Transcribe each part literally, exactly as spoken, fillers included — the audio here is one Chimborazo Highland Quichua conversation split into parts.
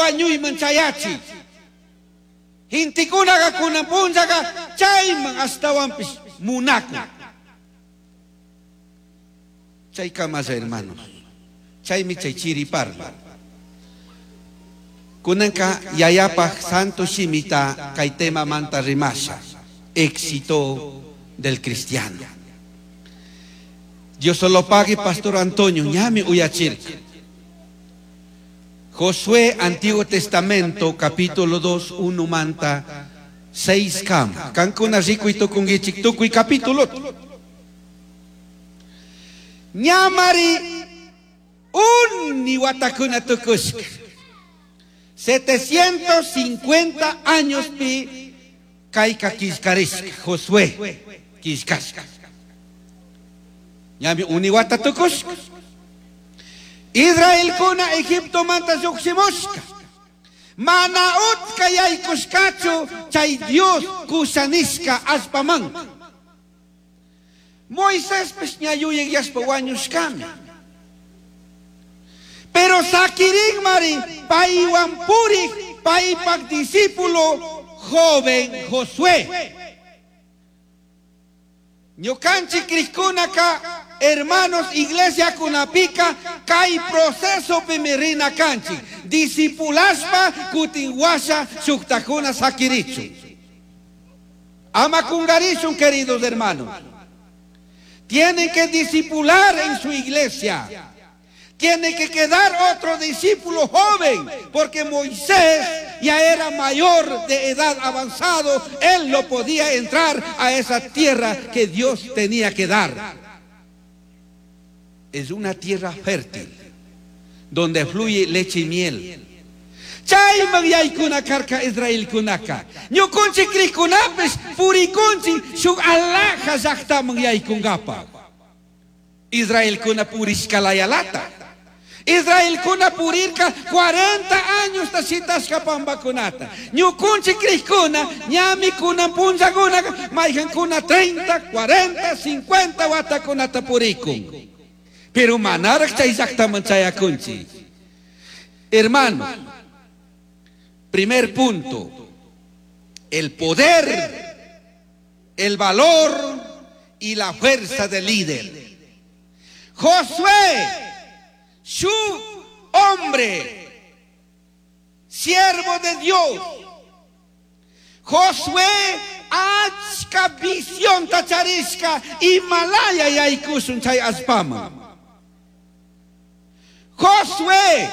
Wañuyman chayachi. Gentekunaqa kunan punllaqa chayman ashtawanpish munakun. Chaykamalla, hermanos. Chaymi chay chiri parla. Kunanka yayapaj santo shimita kay tema manta rimasha. Éxito del cristiano. Dios lo pague, Pastor Antonio, ñami uyachirka. Josué, Antiguo Testamento, capítulo dos, uno manta, seis kam. Kankuna rikuy tukunguichik tukuy capítulo. Ñamari uni watakuna tukushka. setecientos cincuenta años pi kayka killkarishka, Josué killkashka. Ñami uni wata tukushka. Israelkuna Egipto manta llukshimushka. Mana utka yaykushkachu chay Dios kushanishka allpaman. Moisés ña yuyayashpa wañushkami. Pero sakirin mari paywan purik paypak discípulo joven Josué. Ñukanchik krikkunaka, hermanos, iglesia kunapika kay proceso rina kanchik discipulashpa kutin washa shuktakuna sakirichun. Ama kungarishun, queridos hermanos. Tienen que discipular en su iglesia. Tiene que quedar otro discípulo joven, porque Moisés ya era mayor de edad avanzado, él no podía entrar a esa tierra que Dios tenía que dar. Es una tierra fértil, donde fluye leche y miel. Chayman yaykuna karka israelkunaka. Ñukunchik krikunapish purikunchik shuk alaja llaqtaman yaykunkapaq. Israelkuna purishkalayalata. Israelkuna purirka cuarenta años shitashka pambakunata. Ñukunchik krikuna ñami kunan punllakuna mayhankuna treinta, cuarenta, cincuenta watakunata purikun. Pero manaraq chay llaqtaman chayakunchik. Hermanos, primer punto, el poder, el valor y la fuerza del líder. Josué, su hombre, siervo de Dios. Josué achka visión tacharishka imalaya yaykushun chay allpaman. Josué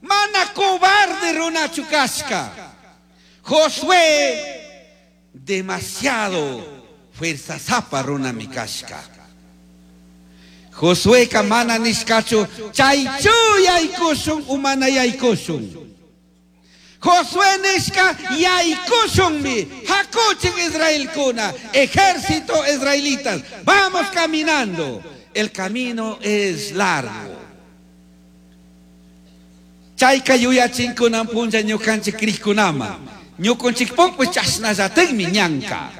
mana cobarde runachu kashka. Josué demasiado fuerza zapa runami kashka. Josué mana nishkachu chaychu yaykushun u mana yaykushun. Josué nishka yaykushunmi hakuchik israelkuna, ejército israelitas, vamos caminando. El camino es largo. Chayka yuyachinkunan punlla ñukanchik krikkunaman. Ñukunchikpukpis chashnallatikmi ñanka.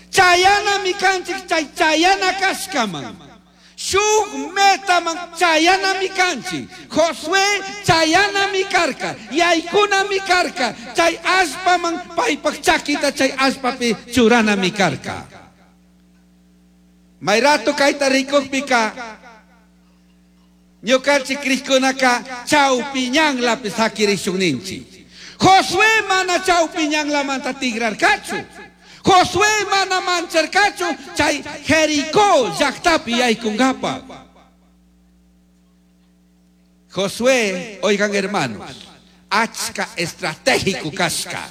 Chayanami kanchik chay chayana kashkaman. Shuk metaman chayanami kanchik. Josué chayanami karka. Yaykunami karka. Chay allpaman paypak chakita chay allpapi churanami karka. Mayrato kayta rikukpika ñukanchik krikkunaka chawpi ñanlapi sakirishun ninchik. Josué mana chawpi ñanlamanta tigrarkachu. Josué mana mancharkachu chay Jericó llaqtapi yaykunkapaq. Josué, oigan, hermanos, achka estratégico kashka.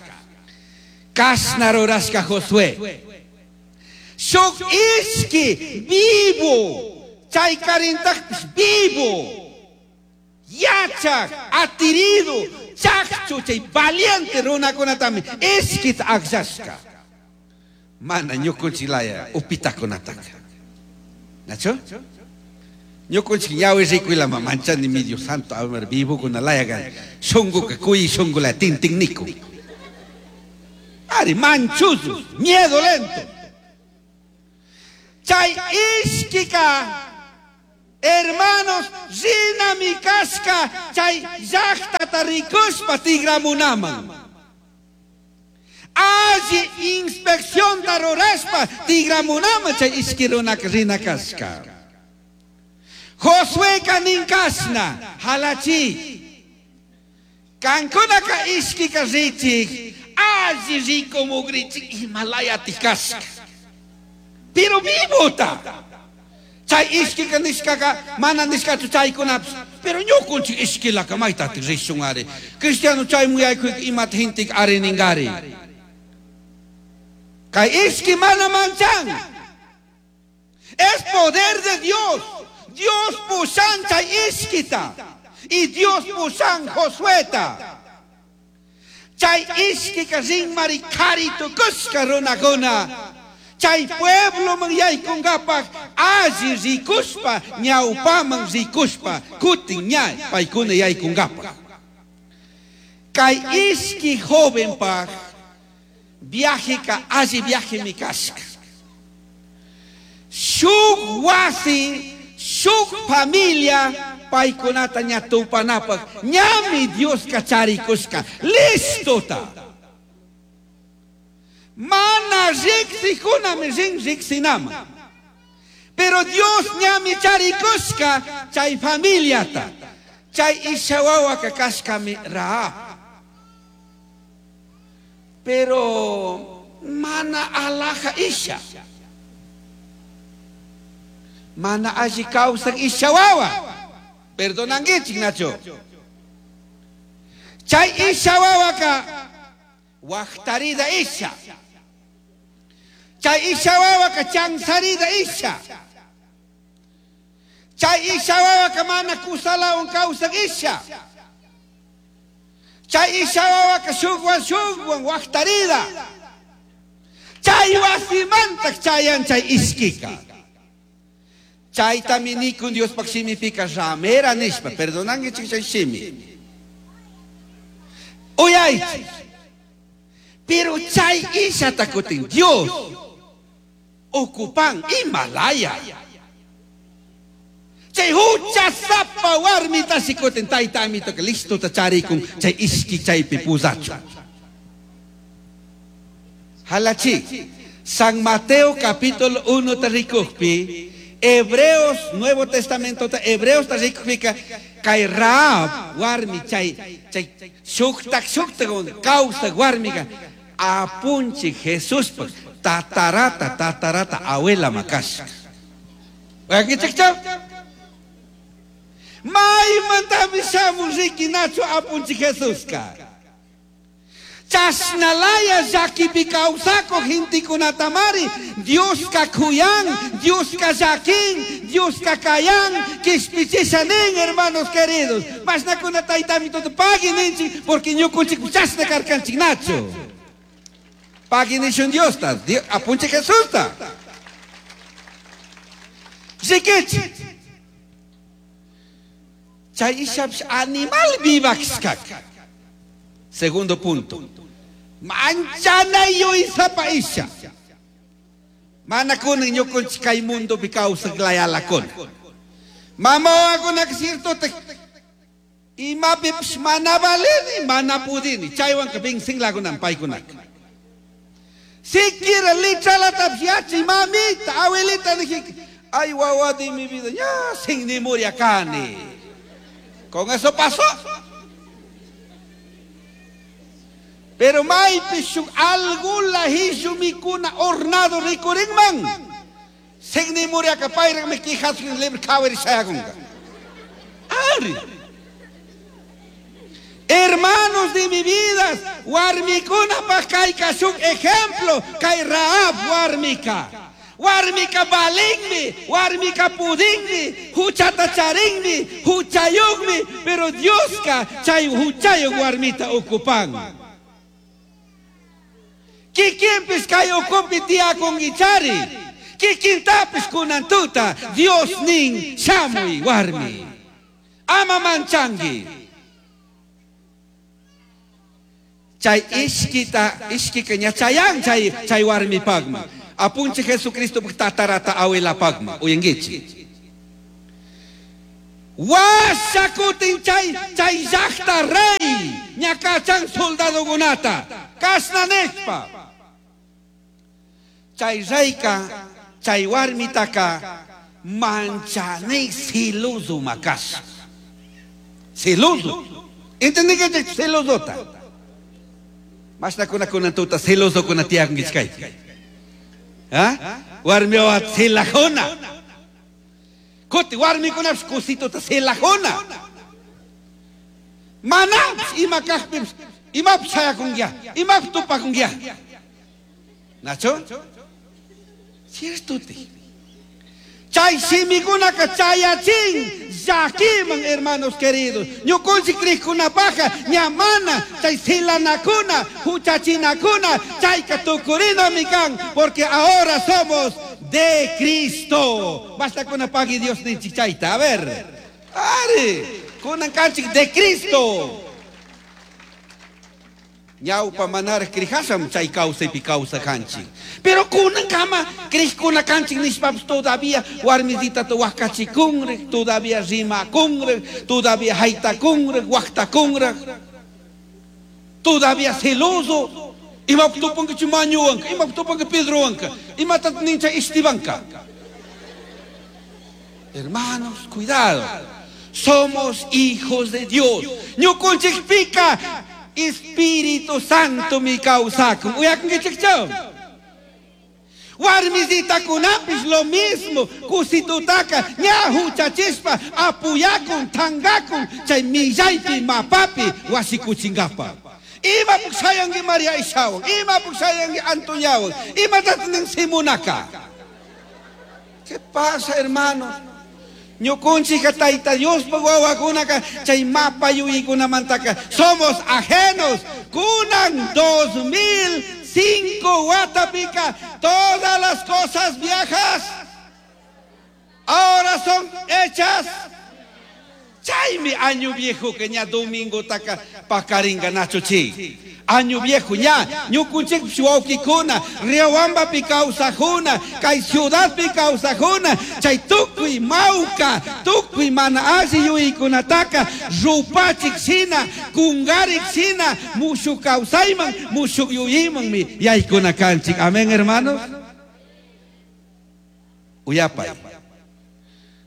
Kashna rurashka Josué. Shuk ishki vivo, chay karintakpish vivo. Yachak, atirido, chakchu chay valiente runakunatami ishkita akllashka. Mana ñukunchilaya upitakunataka. ¿Nacho? Ñukunchik ñawi rikuylama manchani mi Dios santo, a ver, vivo con la shunguka kuy shungula tintin niku. Ari manchuzu, miedo lento. Chay ishkika, hermanos, rinami kashka, chay llaqtata llajtata rikushpa tigramunaman. Alli inspeccionta rurashpa tigramunaman chay ishki runaka rina kashka. Josueka ninkashna halachi. Kankunaka ishkika richik alli rikumugrichik imalayati kashka. Pero vivota. Chay ishkika nishkaka mana nishkachu chaykunapish. Pero ñukunchik ishkilaka maytatik rishun ari. Cristiano chaymun yaykuyka imata hintik ari ningari. Kay ishki mana manchan. Es poder de Dios. Dios pushan chay ishkita. Y Dios pushan Josueta. Chay ishkika rinmari kari tukushka runakuna. Chay pueblo man yaykunkapaj alli rikushpa ñawpaman rikushpa kutin ña paykuna yaykunkapaj. Kay ishki jovenpaj viajeka alli viajemi kashka. Shuk wasi, shuk familia paykunata ña tupanapaj ñami Dioska charikushka listota. Mana riksikunami rin riksinama. Pero Dios ñami charikushka chay familiata. Chay ishawawaka kashkami Rahab. Pero mana alaja isha. Mana alli kawsak ishawawa. Perdonanguichik Nacho. Chay ishawawaka waqtarida isha. Chay ishawawaka chansarida isha. Chay ishawawaka mana kusalawan kawsak isha. Chay ishawawaka shukwan shukwan waqtarida. Chay wasimantak chayan chay ishkika. Chaytami nikun Diospaq shimipika ramera nishpa. Perdonanguichik chay shimi. Uyaychik. Pero chay ishata kutin Dios ocupan Himalaya. Chay huchasapa warmita shikutin tayta amitoka listo ta charikun chay ishki chaypi pusachu. Halachi. San Mateo capítulo uno ta rikukpi, Hebreos, Nuevo Testamento ta Hebreos ta rikukpika kay Rahab warmi chay chay shuktak shuktak kawsak warmika apunchi Jesuspaq tatarata tatarata abuela makashka. Wakichikchaw? Maymantami shamun riki Nacho apunchi Jesuska. Chashnalaya llakipi kawsakuq gentikunatamari Dioska kuyan, Dioska llakin, Dioska kayan, kishpichisha nin, hermanos queridos. Mashnakuna taytami tuta pagui ninchik porque ñukunchik chashna karkanchik Nacho. Pagui nishun Diosta, apunchi Jesusta. Rikichik. Chay ishapish animal vivakshkak. Segundo punto. Manchana yuysapa isha. Mana kunan ñukunchik kay mundopi kawsak layalakuna. Mama wawakunaka cierto imapipish mana valini, mana pudini. Chaywanka vincinlakunan paykunaka. Siquiera lichalatapish yachay mamita, abuelita nijika, ay wawa de mi vida, ya sin ni muriakani. Con eso pasó. Pero maypi shuk algula hishu mikuna hornado rikurinman. Signi muriaka payraqmi quijasqin libre kawari shayakunqa. Ari. Hermanos de mi vida, warmikunapaq kayka shuk ejemplo kay Rahab warmika. Warmika balinmi, warmika pudinmi, huchata charinmi, huchayuqmi, pero Dioska chay huchayuq warmita ocupan. Kikinpis kay ukupi tiyakunkichari. Kikintapis kunantuta Dios nin shamuy warmi. Ama manchanki. Chay ishkita ishkika ña chayan chay chay warmipaqman. Apunchi Jesucristo tatarata abuelapaqman. Uyankichik. Washakutin chay chay llaqta rey Ña kachan soldadokunata. Kashna nishpa. Chay reyka, chay warmitaka manchanay celoso makas. Celoso. ¿Entendí que celosota? Mashna kuna kuna tuta celoso kuna tiyakunkichkay. ¿Ah? Warmiwa celajona. Kuti warmikunapish kusituta celajona. Manapish ima kajpipish imapish shayakunkia, imapish tupakunkia. ¿Nacho? Cierto te. Chay shimikunaka chayachin llakiman, hermanos queridos. Ñukunchik krikkunapaja ñamana chay silanakuna huchachinakuna chayka tukurinami kan, porque ahora somos de Cristo. Basta con pagui Dios ninchik chayta. A ver. Ari, kunan kanchik de Cristo. Ñawpa manaraj krijasham chay kawsaypi kawsakanchik. Pero kunan kama krishkuna kanchik nishpapish todavía warmisitata waqachikunraj, todavía rimakunraj, todavía haytakunraj, waqtakunraj, todavía celoso. Imapaq tupankichu Mañuwanka, imapaq tupanki Pedrowanka, imatataq nin chay Estebanka. Hermanos, cuidado. Somos hijos de Dios. Ñukunchikpika Espíritu Santo mi kawsakun. Uyakunkichikchu? Warmisitakunapish lo mismo. Kusitutaka ña huchachispa apuyakun, tangakun chay millaypi mapapi wasikuchinkapa. Imapuk shayanki María Ishawan, imapuk shayanki Antoniawan, imatataq nin Simonaka. ¿Qué pasa, hermanos? Ñukunchika Tayta Diospaq wawakunaka chay mapa yuyaykunamantaka somos ajenos. Kunan dos mil cinco watapika todas las cosas viejas ahora son hechas. Chaymi año viejo que ña domingo taka pakaringa nacho chi. Año viejo ña ñukunchikpish wawkikuna Riobambapi kawsajuna kay ciudadpi kawsajuna chay tukuy mawka tukuy mana alli yuyaykunataka rupachik shina kungarik shina mushuk kawsayman mushuk yuyaymanmi yaykuna kanchik. Amén, hermanos. Uyapay.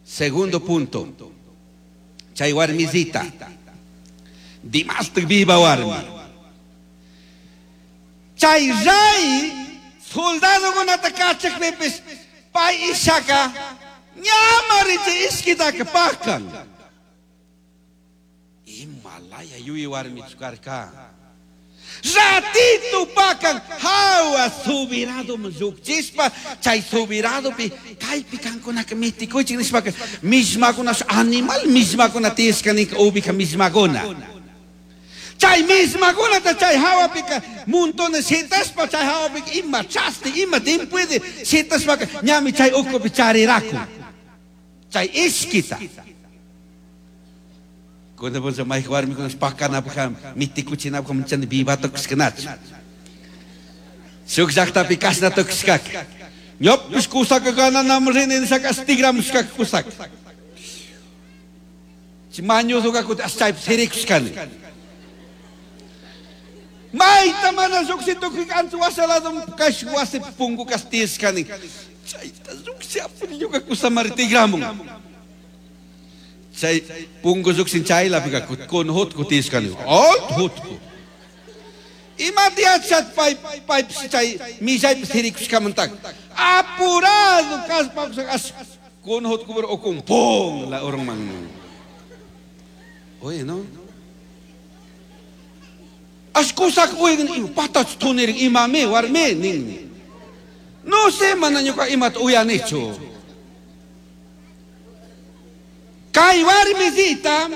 Segundo punto. Chay warmisita dimastik viva warmi. Chay rey soldadokunata kachakpipish pay ishaka ñamari chay ishkitaka pakan. Imalaya yuyi warmichu karka. Ratito pakan hawa subirado llukchishpa chay subiradopi kaypi kankunaka mitikuychik nishpaka mishmakuna animal mishmakuna tiyashka ninka ubija mishmakuna. Chay mishmakunata chay hawapika montones shitashpa chay hawapika ima chasti ima timpuede shitashpaka ñami chay ukupi chariraku chay ishkita. Cuando vos may warmikuna pakanapaq mitikuchinapaq manchani vivata kushkanachu. Shuk llaqtapi kashna tukushkaka. Ñopish kusaka gananam rini nishaka tigramushkaka kusaka. Chay mañuzuka kuti chaypi sirikushkani. Mayta mana lluqshitukuy ancha washaladum kash wasi punku kash tiyashkani. Chayta lluqshapuni ñuka kusamari tigramun. Chay punku lluqshin chaylapika kun hutku tiyashkani. Alto hutku. Imata yachat pay paypish chay millaypi sirikushkamantaka. Apurado kaspa as kun hutku pero ukun pum la urunman. Oye, no? As kusak uyan patach tunirin imame warme nin. No sé mana ñuka imata uyanichu. Kay warmisita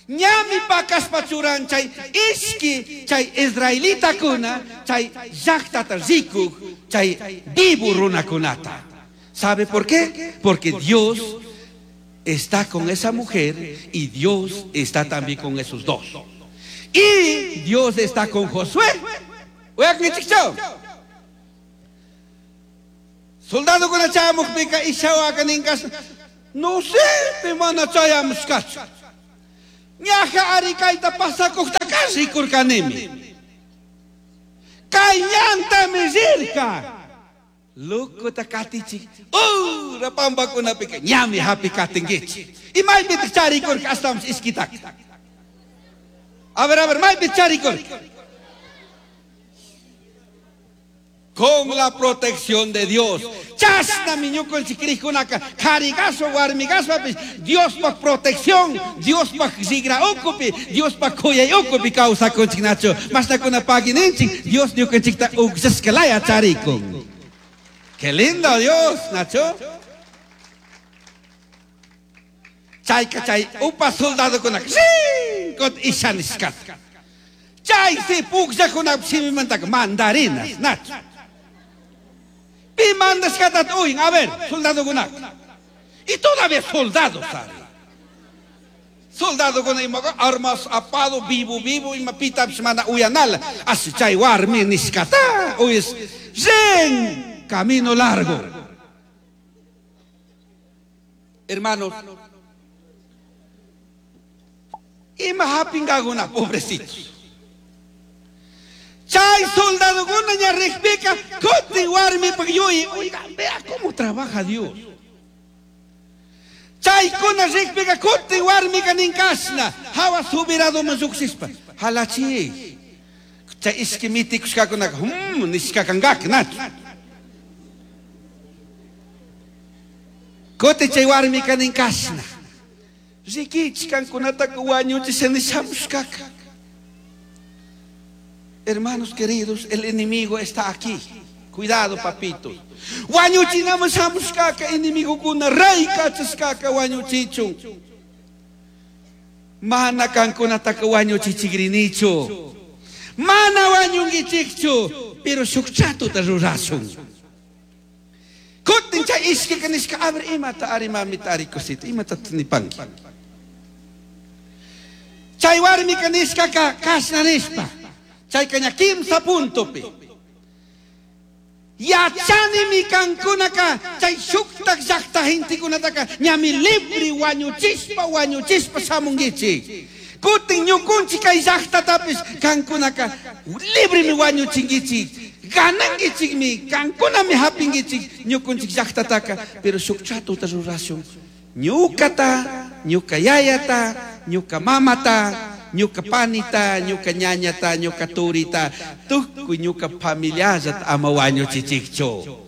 ñami pakashpa churan chay ishki chay israelitakuna chay llaqtata rikuk chay vivo runakunata. ¿Sabe por qué? Porque Dios está con esa mujer y Dios está también con esos dos. Y Dios está con Josué. Soldado con chamuqpiqa ishawaqa ninkas no sé, mana chayamushkachu. Ñaja ari kayta pasakuqta Ñucaca rikurkanimi. Kay ñantami rirka. Locuta katichik. Ura pampakunapika ñami hapi katinkichik. Y maypitaq charikurka ashtawanpish ishkitaka. A ver, a ver, maypitaq charikurka. Con la protección de Dios. Chashnami ñukanchik crikkunaka karigaspa warmigaspapish Diospaj protección, Diospaj rigra ukupi, Diospaj kuyay ukupi kawsakunchik nachu. Mashnakuna pagininchik, Dios ñukanchikta ukllashkalaya charikun. Qué lindo Dios, Nacho. Chayka chay upa soldadokunaka rin kot ishanishkata. Chay si pukllakunapis shimimantaka mandarinas, Nacho. Pi mandashkata uyin, a ver, soldadokunaka. Y todavía soldados, ¿sabe? Soldadokuna imaka armas apado, vivo, vivo, ima pitapis mana uyanala. Así chay warmi nishkata, uyes, rin, camino largo. Hermanos, ima hapingaguna, pobrecitos. Chay soldadokuna ña rikpika, kutin warmipaj yuyi. Oiga, vea cómo trabaja Dios. Chaykuna rikpika, kutin warmika ninkashna, hawa subiradoman lluqshishpa, halachi. Chay ishki mitikushkakunaka, hmm, nishkakankaka, nachu. Kutin chay warmika ninkashna. Rikichik kankunataka wañuchisha nishamushkaka. Hermanos queridos, el enemigo está aquí. Cuidado, papito. Wañuchinaman shamushkaka enemigokuna, rey kachashkaka wañuchichun. Mana kankunataka wañuchichigrinichu. Mana wañunkichikchu, pero shuk chatuta rurashun. Kutin chay ishkika nishka, a ver, imata ari mamita ari cosita, imata nipanki. Chay warmika nishkaka kashna nishpa. Chayka ña kimsa puntopi. Yachanimi kankunaka chay shuktak llaqta gentekunataka ñami libre wañuchispa wañuchispa shamunkichik. Kutin ñukunchik kay llaqtatapis kankunaka libremi wañuchinkichik. Ganankichikmi, kankunami hapinkichik ñukunchik llaqtataka, pero shuk chatuta rurashun. Ñukata, ñuka yayata, ñuka mamata, ñuka panita, ñuka ñañata, ñuka turita, tukuy ñuka familiallata ama wañuchichikchu.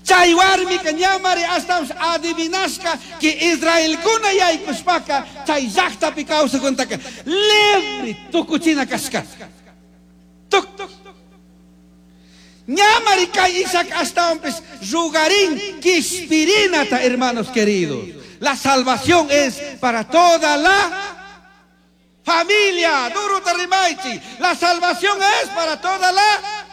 Chay warmika ñamari ashtawanpish adivinashka que Israelkuna yaykushpaka chay llaqtapi kawsakuntaka libre tukuchina kashkata. Tuk. Ñamari kay Isaac ashtawanpish rugarin kishpirinata, hermanos queridos. La salvación es para toda la familia. Duro tarimaichi. La salvación es para toda la.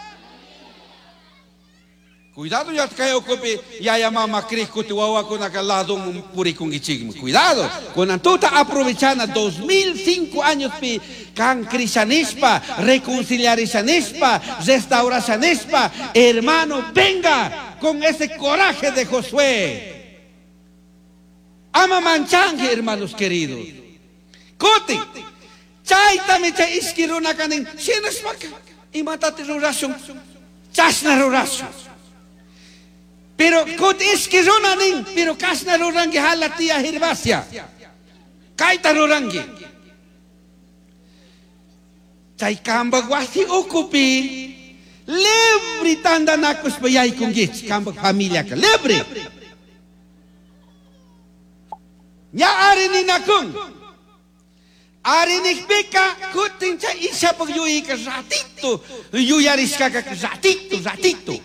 Cuidado ya kay okupi yaya mama krikuti wawakunaka lado purikunkichikmi. Cuidado. Kunan tuta aprovechana dos mil cinco años pi kan krishanispa, reconciliarishanispa, restaurashanispa, hermano, venga con ese coraje de Josué. Ama manchange, hermanos queridos. Kutin. Chaytami chay ishki runaka nin, shinashpaka, imatati rurashun, chashna rurashun. Pero kut ishki runa nin, pero kashna rurangi hala tía Gervasia. Kayta rurangi. Chay kambak wasi ukupi, libre tandanakushpa yaykunkichik, kambak familiaka, libre. Ña ari ninakun. Arinikpika kutin chay ishapak yuyika ratito, yuyarishkaka ratito, ratito.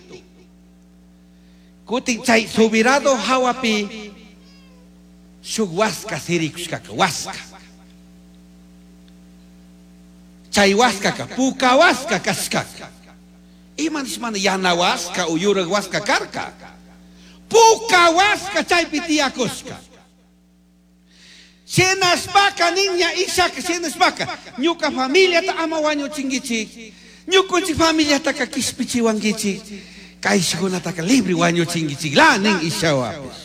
Kutin chay subirado hawapi shuk waska sirikushkaka, waska. Chay waskaka puka waska kashkaka. Ima nishmana yana waska o yurak waska karka. Puka waska chaypi tiyakushka. Shinashpaka niña Isaac, shinashpaka ñuka familiata ama wañuchinkichik, ñukunchik familiataka kishpichiwankichik, kayshkunataka libre wañuchinkichik la nin Ishawapish.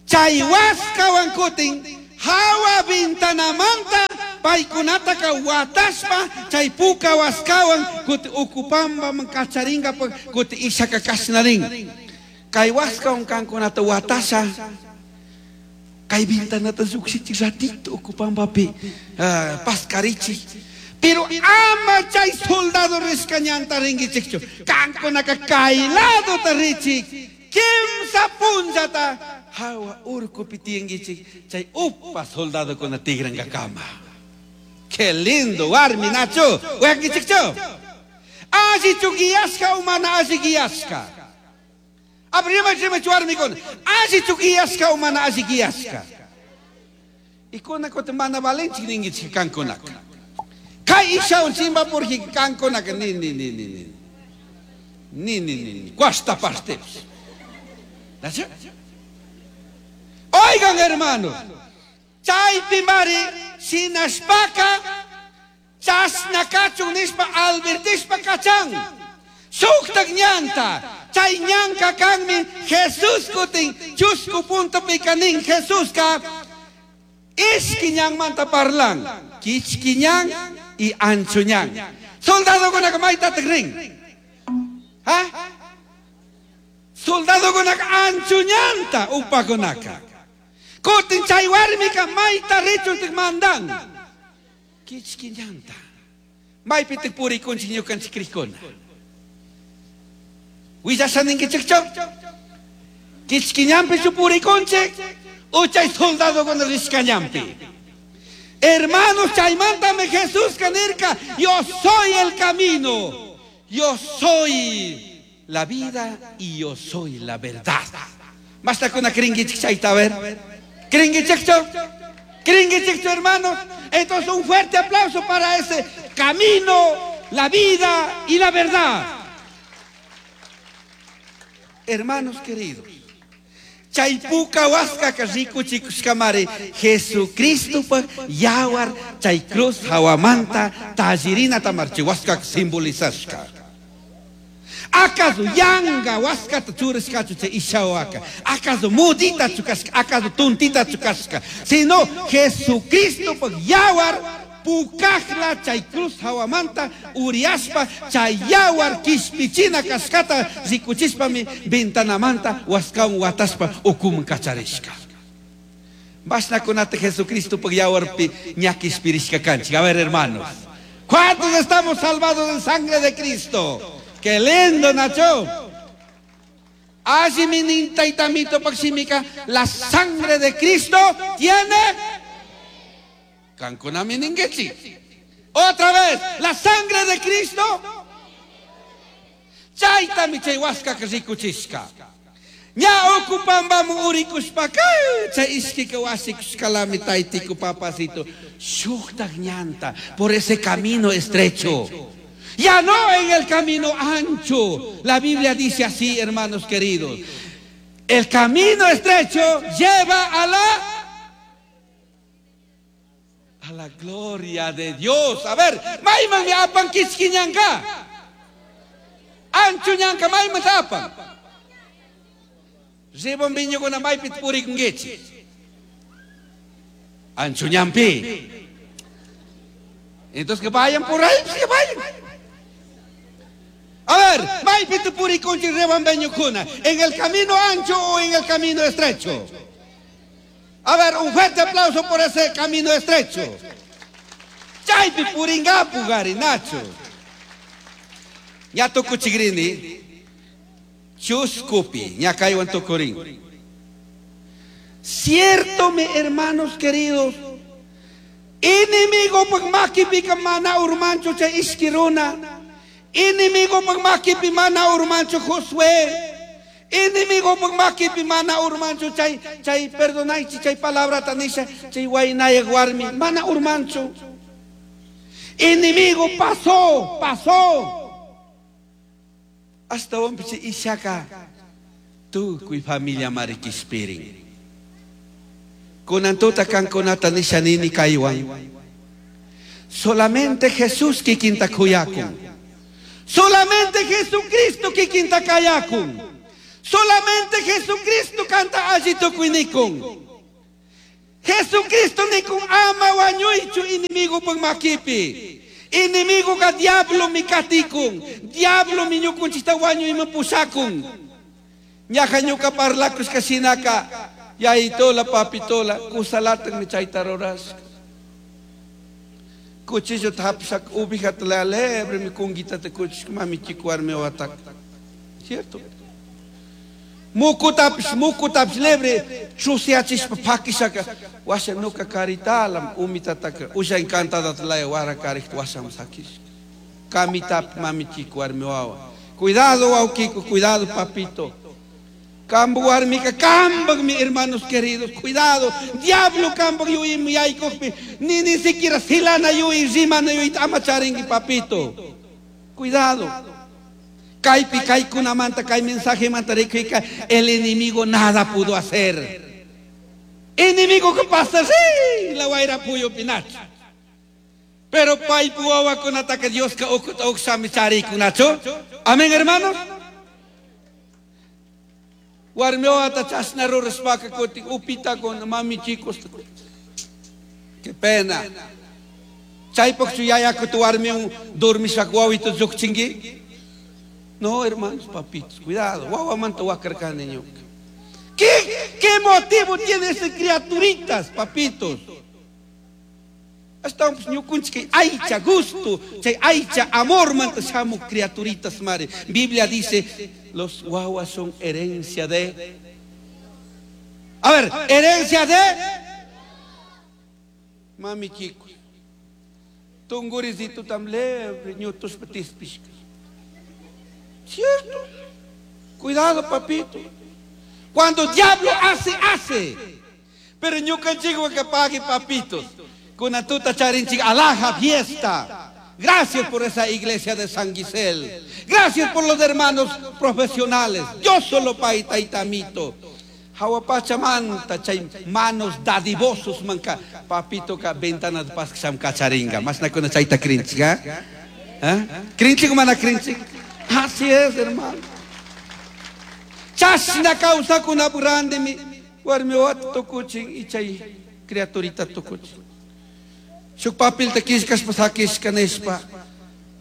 Chay waskawan kutin hawa vintanamanta Paykunataka watashpa chay puka waskawan kuti ukupambaman kacharinkapak kuti ishaka kashnarin. Kay waskawan kankunata watasha kay ventanata llukshichik ratito ukupambapi uh, paskarichik. Pero ama chay soldado rishka ñanta rinkichikchu. Kankunaka kay ladota richik. Kimsa punllata hawa urkupi tiyankichik chay upa soldadokuna tigrankakama. Qué lindo warmi Nacho. Uyankichikchu. Allichu guiashka o mana alli guiashka. Abrima rimachu warmikuna. Allichu guiashka o mana alli guiashka. Y kuna kutin mana valenchik ninkichik kankunaka. Kay ishawan chimpapurji kankunaka ni ni ni ni ni. Ni ni ni ni. Cuarta parte. Nacho? Oigan, hermanos, chaypi mari shinashpaka chashna kachun nishpa advertishpa kachan. Shuktak ñanta, chay ñanka kanmi Jesús kutin chusku punto pikanin Jesuska ishki ñanmanta parlan, kichki ñan y ancho ñan. Soldadokunaka maytatak rin. ¿Ah? Soldadokunaka ancho ñanta upakunaka. Kutin chay warmika mayta richuntik mandan. Kichki ñanta. Maypitik purikunchik ñukanchik crikuna. Willasha ninkichikchu? Kichki ñanpichu purikunchik? O chay soldadokuna rishka ñanpi. Hermanos, chaymantami Jesús nirka, yo soy el camino, yo soy la vida y yo soy la verdad. Basta con cringuichik chayta, a ver. Cringuichikchu? Cringuichikchu, hermanos. Entonces un fuerte aplauso para ese camino, la vida y la verdad. Hermanos queridos, chay puka waskaka rikuchikushkamari Jesucristo yawar chay cruz hawamanta tallirinata marchi waskaka simbolizashka. ¿Acaso yanga waskata churashkachu chay ishawaka? ¿Acaso mudita chukashka? ¿Acaso tontita chukashka? Sino Jesucristo yawar pukajla chay cruz hawamanta uriaspa chay yawar kishpichina kashkata rikuchishpami ventanamanta waskawan wataspa ukuman kacharishka. Bashnakunata Jesucristo yawarpi ña kishpirishka kanchik. A ver, hermanos, ¿cuántos estamos salvados en sangre de Cristo? ¡Qué lindo, Nacho! Así mi taitamito paximica, la sangre de Cristo tiene Kankunami ningechi. Otra vez, la sangre de Cristo. Chaytami chay waskaka rikuchishka. Ña ocupambamu urikushpaka chay ishkika wasikushkalami taytiku papacito. Shuktak ñanta por ese camino estrecho. Ya no en el camino ancho. La Biblia dice así, hermanos queridos. El camino estrecho lleva a la a la gloria de Dios. A ver, mayman mi apan kichki ñanka. Ancho ñanka mayman apan. Rebombiñukuna maypi purikunkichik. Ancho ñanpi. Entonces que vayan por ahí, pues que vayan. A ver, maypi purikunchik rebombiñukuna, ¿en el camino ancho o en el camino estrecho? A ver, un fuerte aplauso por ese camino estrecho. Chaypi puringapu gari, Nacho. Ña tukuchigrini, chuskupi, ña kaywan tukurin. Cierto, mi hermanos queridos, enemigo pag makipika mana urmancho chay ishki runa, enemigo pag makipi mana urmancho Josué, enemigo pag makipi mana urmancho chay chay perdonaychi chay palabra tanisha chay waynaya warmi mana urmancho. Enemigo pasó, pasó. Hasta ompiche ishaka tukuy familia marikispirin. Kunantuta kankunata nisha nini kaywan. Solamente Jesús kikinta kuyakun. Solamente Jesucristo kikinta kayakun. Solamente Jesucristo canta alli tukuinikun. Jesucristo nikun ama wañuychu enemigo makipi. Enemigo ka diablo mi katikun. Diablo mi ñukunchikta wañuyman pushakun. Ñaja ñuka parlakushka shinaka yayitola papitola kusalatan mi chayta rurashka. Cuchillo hapishaka ubijata la lebre mi kunguitata kuchishka mamichiku warmi wataka. ¿Cierto? Mukutapish mukutapish lebre chusiachishpa pakishaka washa nuka karitalam umitataka usha encantadata laya wara karikta washam sakishka. Kamitapi mamichiku warmi wawa. Cuidado wawkiku, cuidado papito. Kambu warmika kambak mi hermanos queridos, cuidado. Diablo kambak yui mi yaykukpi, ni ni siquiera silana yui, rimana yui, ama charingi papito. Cuidado. Kaypi kaykunamanta, kay mensaje manta rikuyka, el enemigo nada pudo hacer. Enemigo que pasa, sí, la wayra puyo pinacho. Pero paypu wawakunataka Dioska ukuta uksami charikunachu. Amén, hermanos. Warmi wawata chashna rurashpaka kutin upitakuna mami chicos. Qué pena. Chaypaqchu yayakuta warmiwan dormishaka wawito lluqchinki? No, hermanos, papitos, cuidado. Wawamanta wakarkani ñuka. ¿Qué, qué motivo tiene esas criaturitas, papitos? Estamos ñukunchik aycha gusto, chay aycha amor manta shamu criaturitas mare. Biblia dice, los guaguas son herencia de... A ver, herencia de... Mami chicos. Tungurisito tam lebre, ñutus petispishka. ¿Cierto? Cuidado, papito. Cuando el diablo hace, hace. Pero ñukanchikwan que pague, papitos. Con tuta charinchik, alhaja fiesta. Gracias por esa iglesia de San Gisel. Gracias por los hermanos profesionales. Yo solo paita y tamito. Hawapachamanta chay manos dadivosos manka. Papito ka ventana de paz que kacharinga. Más na kuna chayta krinchik, ¿eh? ¿Eh? Krinchik mana krinchik. Así es, hermano. Chashna causa kuna burande mi warmi wat tukuchin y chay criaturita tukuchin. Shuk papilta kishkashpa sakishka nishpa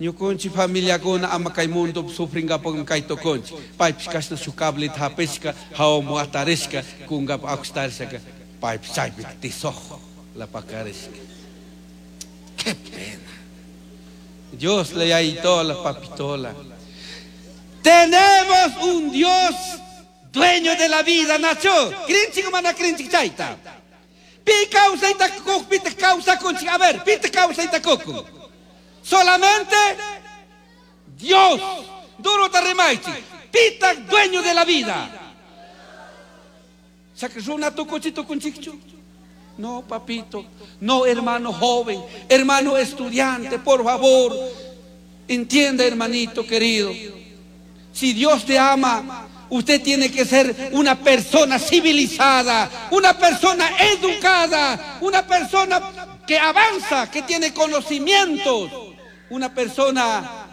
ñukunchik familiakuna ama kay mundo sufringapakmi kay tukunchik. Paypish kashna shuk cableta hapishka hawaman atarishka kunkapak akustarishaka paypish chaypi tisojo la pakarishka. Qué pena. Dios le yayitola papitola. Tenemos un Dios dueño de la vida, Nacho. Krinchik mana krinchik chayta. Pi kawsayta kuk, pita kawsakunchik. A ver, pita kawsayta kukun. Solamente Dios. Duro ta rimaychik. Pita dueño de la vida. Chaka runa tukuchi tukunchikchu. No, papito. No, hermano joven, hermano estudiante, por favor. Entienda, hermanito querido. Si Dios te ama, usted tiene que ser una persona civilizada, una persona educada, una persona que avanza, que tiene conocimientos, una persona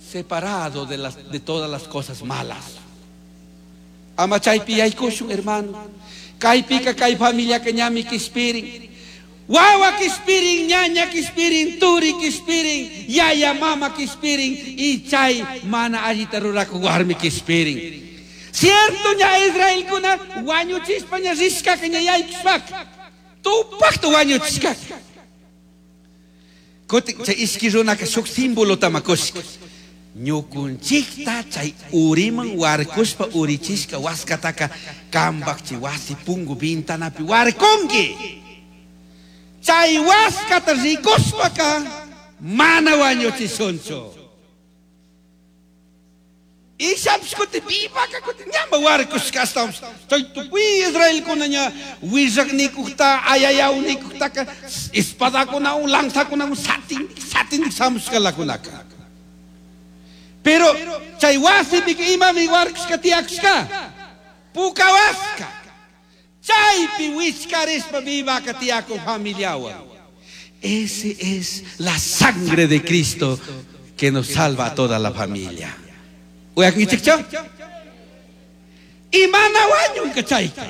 separado de, las, de todas las cosas malas. Ama chaypi yaykushun, hermano. Kaypika kay familia que ñami kispirin. Wawa kispirin, ñaña kispirin, turi kispirin, yaya mama kispirin, y chay mana allita ruraku warmi kispirin. Cierto ña Israel kuna wañuchispa ña rishkaka ña yaykushpaka. Tupaqta wañuchishkaka. Kutin chay ishki runaka shuk símbolo tamakushka. Ñukunchikta chay uriman warkushpa urichishka waskataka kambakchi wasi pungu ventanapi warkunki. Chay waskata rikushpaka mana wañuchishunchu. Ishapish kuti vivaka kuti ñamba warkushka ashtawanpish. Chay tukuy Israelkuna ña willaknikukta ayayawnikuktaqa espadakunawan lanzakunawan satin satin shamushkalakunaka. Pero chay wasipika imami warkushka tiyakushka puka waska. Chaypi wichkarishpa vivaka tiyakun familiawan. Ese es la sangre de Cristo que nos salva a toda la familia. Uyakunkichikchu? Y mana wañunka chayka.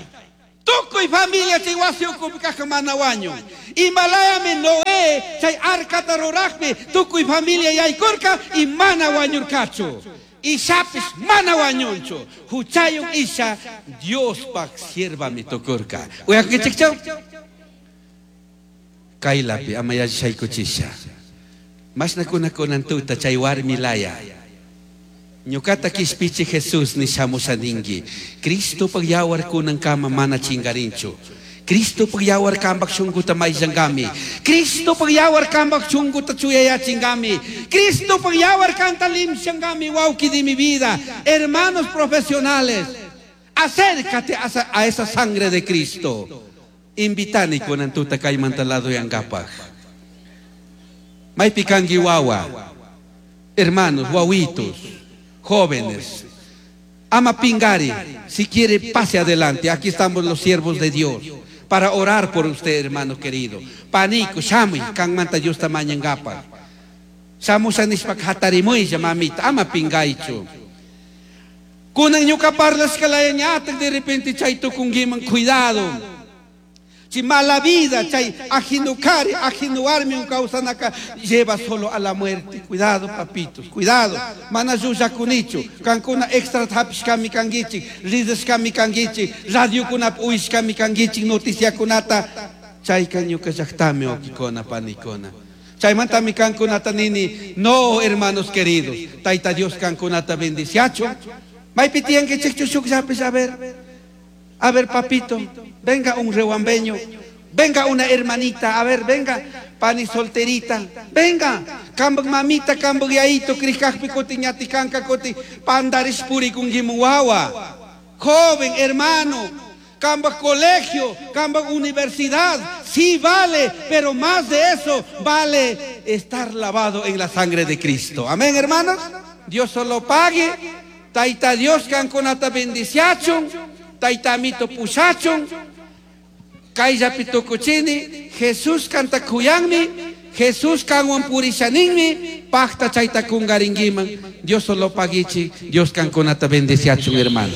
Tukuy familia chay wasi ukupi kajka mana wañun. Imalayami Noé chay arcata rurajpi tukuy familia yaykurka y mana wañurkachu. Ishapish mana wañunchu. Huchayuq isha Diospaj siervami tukurka. Uyakunkichikchu? Kaylapi ama yachaykuchisha. Mashnakuna kunan tuta chay warmi laya. Ñukata kishpichi Jesús ni shamusha ningi. Cristopaj yawar kunankama mana chingarinchu. Cristopaj yawar kambak shunkuta mayllangami. Cristopaj yawar kambak shunkuta chuyayachingami. Cristopaj yawar kanta limshangami, wauki de mi vida. Hermanos profesionales, acércate a esa, a esa sangre de Cristo. Invitani kunan tuta kaymanta ladoyangapaj. Maypi kanki wawa. Hermanos, wawitos, jóvenes. Ama pingari, si quiere pase adelante. Aquí estamos los siervos de Dios para orar por usted, hermano querido. Paniku, shamuy, kanmanta Diosta mañangapaj. Shamusha nishpa hatarimuylla, mamita, ama pingaychu. Kunan ñuka parlashka ñatak de repente chay tukunkiman, cuidado. Si mala vida, chay ajeno kari, ajeno warmi kawsanaka lleva solo a la muerte. Cuidado, papitos, cuidado. Mana llullakunichu, kankuna extra hapishkami kankichik, ridashkami kankichik, radiokunapi uyashkami kankichik, noticiakunata. Chayka ñuka llaktami wawkikuna, panikuna. Chaymantami kankunata nini, no, hermanos queridos, Tayta Dios kankunata bendiciachun. Maypi tiyankichikchu shukllapis, a ver. A ver, papito, venga un rehuambeño, venga una hermanita, a ver, venga, pani solterita, venga, kambak mamita, kambak yaito, krikakpi kuti, ñati kanka kuti, pandarish purikunkimun wawa. Joven, hermano, kambak colegio, kambak universidad, sí vale, pero más de eso vale estar lavado en la sangre de Cristo. Amén, hermanos. Dios solo pague, Tayta Dios kankunata bendiciachun, Tayta Amito pushachun, kayllapi tukuchini, Jesús kanta kuyanmi, Jesús kanwan purishaninmi, pakta chayta kungarinkiman. Dios solo paguichi, Dios kankunata bendiciachun, hermano.